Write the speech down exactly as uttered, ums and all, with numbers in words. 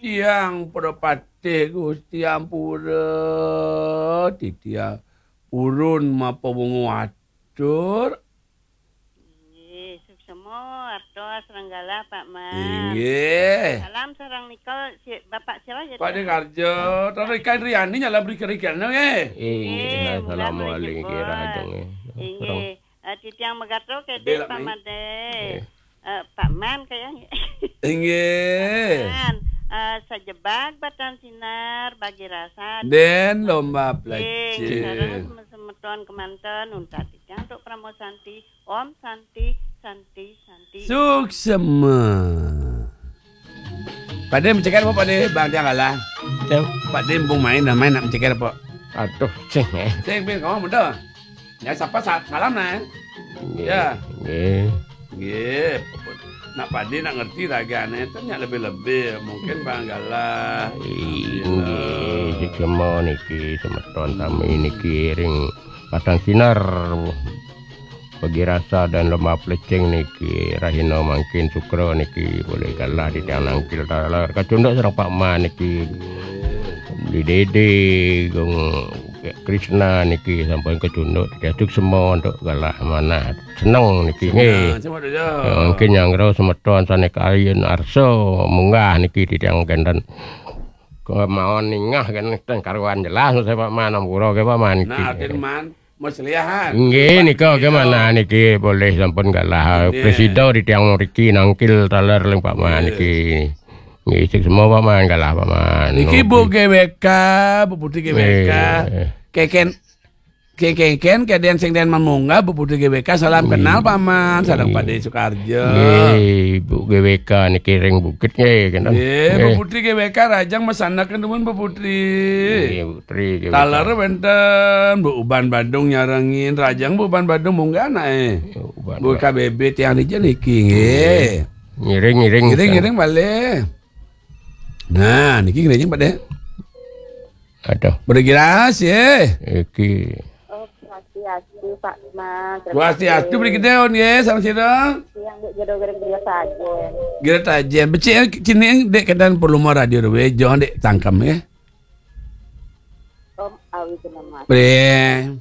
Tiang pada patih, Gusti, ampura, titiang purun mapawungu atur. Inggih, suksema, artos, sareng galah, Pak Man. Inggih. Salam sareng nika, si, Bapak siapa ya, Pak Dé Karjo, terus Ikan Riani nyala beli kerikan, nggih. Inggih, inggih, mula assalamualaikum, beli jebos. Rahajeng, nggih. Inggih. Sareng Eh, titiang megato kedé, Pak Madé. Eh, Pak Man kayaknya. Inggih. Man, eh, sajebag batan sinar bagi rasa. Dén lomba plecing. Sareng semeton kemanten untat titiang untuk Parama Santi. Om Santi, Santi, Santi. Suksema. Pak Dé mencekar apa, Pak Dé? Bang, tiang kalah. Pak Dé mumpung main, dah main nak mencekar apa? Aduh, cing, eh. Cing, pin, kamu muda. Ya, sapa sa-, salam, nah. Nggih, ya. Nggih. Nggih. Nak Pak Dé nak ngerti ragané, itu nyak lebih-lebih. Mungkin Bang Galah. Inggih, suksema niki, semeton sami niki ring Pasang Sinar. Bagi rasa dan lomba plecing niki, rahina mangkin Sukra niki, polih galah titiang nangkil taler. Kacunduk sareng Pak Man niki. Di Dédé, Gung Krisna niki sampun kacunduk, titiang suksema untuk galah manah. Seneng niki, nggih. Seneng, seneng, Dada. Ya, mungkin nyanggra semeton sané kayun arsa munggah niki titiang kenten. Kemawon ningah kan ten karuan jelas, saya Pak Man, ampura ke Pak Man niki. Nah, atin Man, mesliahan. Nggih, nika ke mana niki polih sampun galah. Nggih. Presida titiang mriki nangkil taler ring Pak Man niki. Nggih, suksema Pak Man, galah Pak Man. Niki Bu G W K, Bu Putri G W K. Nggih. Keken, keken, keken, kedén sing dén mamunggah, Bu Putri G W K, salam kenal, Pak Man, sareng Pak Dé Sukarjo. Nggih, Bu G W K niki ring Bukit nggih, kenten. Nggih, Bu Putri G W K, rahajeng masandekan dumun, Bu Putri. Nggih, Bu Putri G W K. Taler wénten, Bu Uban Badung nyarengin, rahajeng Bu Uban Badung munggah anaké. Uban Bu Badung. K B B tiang dija niki, nggih. Ngiring, ngiring. Ngiring, ngiring malih. Nah, niki ngiring, Pak Dé. Aduh. Pada giras, ya. Iki. Om Swastiastu, Pak Man. Terima kasih. Swastiastu, beli gedé, on, ya, sama sira. Yang dek jodoh gereng geria saja. Geria saja. Becik, ya, sini, dek, kedan perlu mau radio, dek, jangan, dek, tangkam, ya. Om Awi Kenama. Bre.